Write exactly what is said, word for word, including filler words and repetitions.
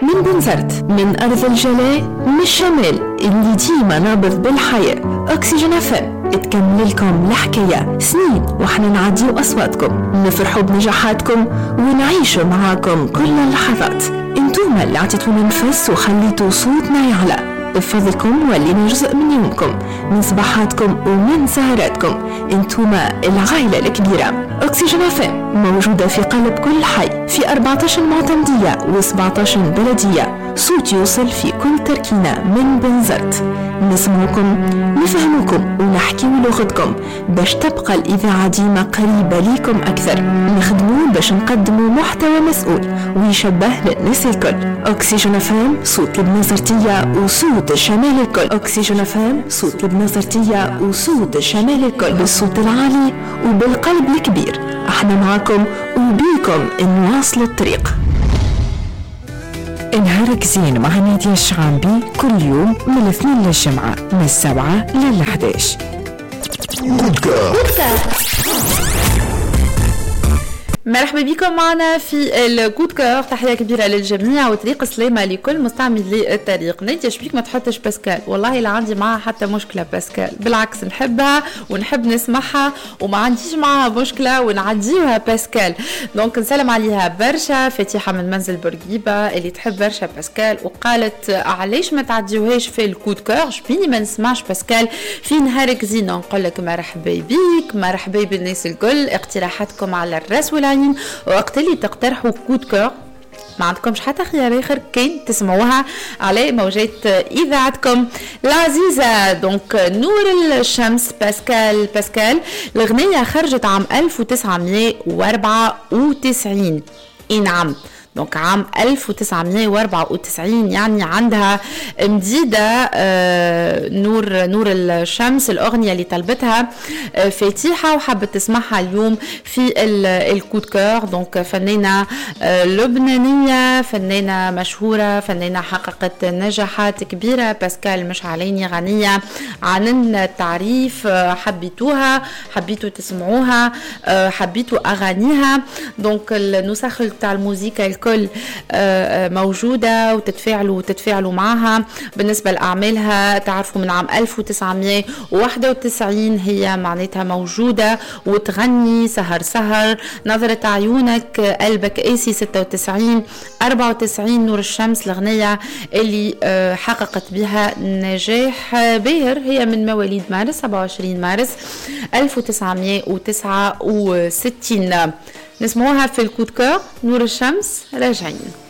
من بنزرت، من أرض الجلاء، من الشمال اللي ديما نابض بالحياة. أكسجين أف أم تكمل لكم الحكاية. سنين واحنا نعديو أصواتكم، نفرحوا بنجاحاتكم ونعيشوا معاكم كل اللحظات. انتوما اللي عطيتونا نفس وخليتوا صوتنا يعلى. بفضلكم ولينا جزء من يومكم، من صباحاتكم ومن سهراتكم. انتوما العائلة الكبيرة. أكسجين أف أم موجودة في قلب كل حي، في أربعة عشر معتمدية وسبعة عشر بلدية. صوت يوصل في كل تركينة من بنزرت. نسمعكم، نفهمكم ونحكيو لغتكم باش تبقى الإذاعة ديما قريبة ليكم أكثر. نخدموا باش نقدموا محتوى مسؤول ويشبه للناس الكل. أكسجين أف أم، صوت البنزرتية وصوت الشمال الكل. أكسجين أف أم، صوت البنزرتية وصوت الشمال الكل. بالصوت العالي وبالقلب الكبير، احنا معكم وبيكم نواصل الطريق. نهارك زين مع نادية الشعامبي، كل يوم من الاثنين للجمعة من السبعة للحداش. coup de cœur. مرحبا بكم معنا في ال coup de cœur. تحية كبيرة للجميع وطريق سلامه لكل مستعملي الطريق. نادية، شبيك ما تحطش باسكال؟ والله لا عندي معها حتى مشكلة باسكال، بالعكس نحبها ونحب نسمعها وما عنديش معها مشكلة ونعديوها باسكال. donc نسلم عليها برشا فاتحة من منزل بورقيبة اللي تحب برشا باسكال وقالت علاش ما تعديوهاش في ال coup de cœur، شبيني ما نسمعش باسكال في نهارك زين؟ نقول لك مرحبا بيك، مرحبا بالناس الكل، اقتراحاتكم على الراس والعين. وقت اللي تقترحوا coup de cœur ما عندكمش حتى خيار اخر كان تسمعوها على موجات اذاعتكم العزيزه. donc نور الشمس، باسكال. باسكال الاغنية خرجت عام ألف وتسعمية وأربعة وتسعين. اي نعم، donc عام ألف وتسعمية وأربعة وتسعين، يعني عندها مديدة. آه، نور نور الشمس، الأغنية اللي طلبتها آه، فاتحة وحبت تسمعها اليوم في ال coup de cœur. donc فنانة آه، لبنانية، فنانة مشهورة، فنانة حققت نجاحات كبيرة. باسكال مش عليني غنية عن التعريف. حبيتوها، حبيتوا تسمعوها، حبيتوا أغانيها. donc النسخ تاع الموسيقى الكل آه، آه، موجودة وتتفاعلوا وتتفاعلوا معها. بالنسبة لأعمالها، تعرفوا من عام ألف وتسعمية وواحد وتسعين هي معناتها موجودة وتغني: سهر سهر، نظرة عيونك، قلبك قاسي، ستة وتسعين، أربعة وتسعين. نور الشمس الأغنية اللي آه، حققت بها نجاح باهر. هي من مواليد مارس، سبعة وعشرين مارس ألف وتسعمية وتسعة وستين. نسمعوها في ال coup de cœur، نور الشمس. راجعين.